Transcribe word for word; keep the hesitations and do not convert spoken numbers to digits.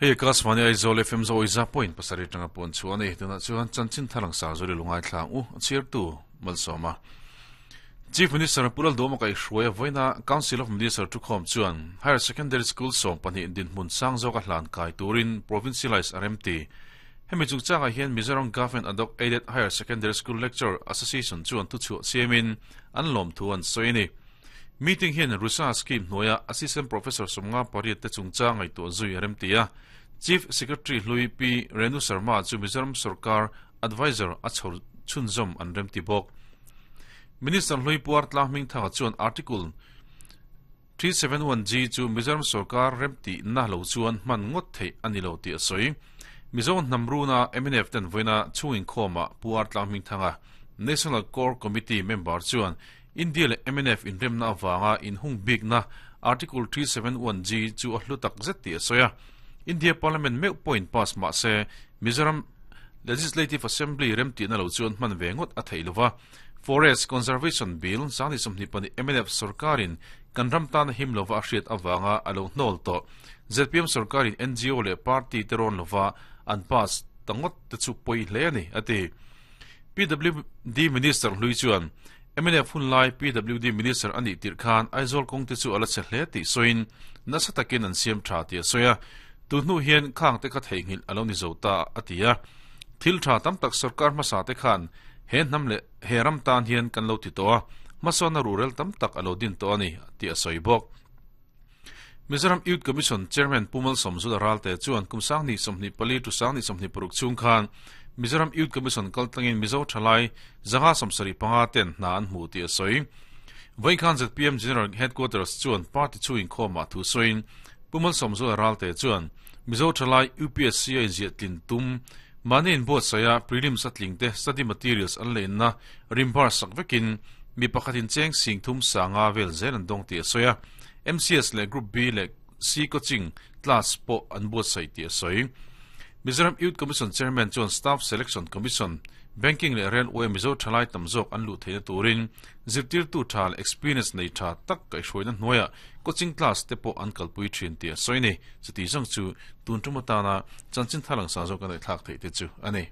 Hei Akashvani Aizawl F M zo iza point pasarih tanga puan chu ani tuna chuan chanchin thalang sa zori lungai thlang u chirtu malsoma Chief Minister Pulal Doma kai hruai voina Council of Minister tu khom chuan Higher Secondary School som pahnih din hmun sang zo ka hlan kai turin provincialize R M T hemi chungchanga hian Mizoram Government Ad-hoc Aided Higher Secondary School Lecture Association chuan tu chu siamin an lom thu an soini meeting hian Rusa scheme hnuaia Assistant Professor Somnga pariat te chungchanga ngai tu zui R M T a Chief Secretary Hlui P Renu Sharma chu Mizoram Sarkar Advisor a chhor chhunzawm an rem ti bawk Minister Hlui Puar Tlang Hming Thanga chuan Article three seven one G chu Mizoram Sarkar rem ti na lo chuan hman ngawt theih ani lo ti a sawi Mizo hnamruna M N F ten voina chungin khawma Puar Tlang Hming Thanga National Core Committee member chuan India le M N F inremna awanga inhung bikna Article three seven one G chu a hlu tak zet ti a sawi a India Parliament meu point pass ma se Mizoram Legislative Assembly rem ti na lo chuan hman ve ngawt a thei lova Forest Conservation Bill sangni sawmhnih pahnih M N F sarkarin kan ram tan him lova a hriat awanga a lo hnawl tawh Z P M sarkarin N G O le party te rawn lova an pass tangot te chu pawi hle ani ati P W D Minister Hlui chuan M N F hun lai P W D Minister ani tir khan Aizawl kawng te chu ala che hle ti soin nasa takin an siam tha ti a soya tu hnu hian khang te kha theinghil alo ni zo ta atia thil tha tam tak sarkar hmasa te khan he hnam le he ram tan hian kan lo ti to a hmasawn rural tam tak alo din to ani ti a sawi bawk Mizoram Youth Commission Chairman Pumal Somzula Ralte chuan kumsang ni sawmhnih pali tu sang ni sawmhnih paruk chung khan Mizoram Youth Commission kaltlangin Mizo thalai zanga sawmsarih panga ten hna an hmu ti a sawi Vaikhan Z P M General Headquarters chuan party chuin khawma thu sawiin Pumal Somzula Ralte chuan Mizo thalai U P S C a inziah tlin tum manin buat saya prelims atling te study materials an lein na rimbar sak vekin mi pakhatin cheng sing thum sanga vel zel an dong ti a sawi a M C S le Group B le C coaching class po an buat sai ti a sawi Mizoram Youth Commission Chairman chuan Staff Selection Commission Banking le Railway Mizo thalai tamzok an lu theina turin zirtir tu thal experience nei tha tak kai hruaina hnuaia coaching class te pawh an kalpui thin ti a sawi ni chuti zawng chu tun tumata na chanchin thalang sa zawk an thlak thei te chu ani.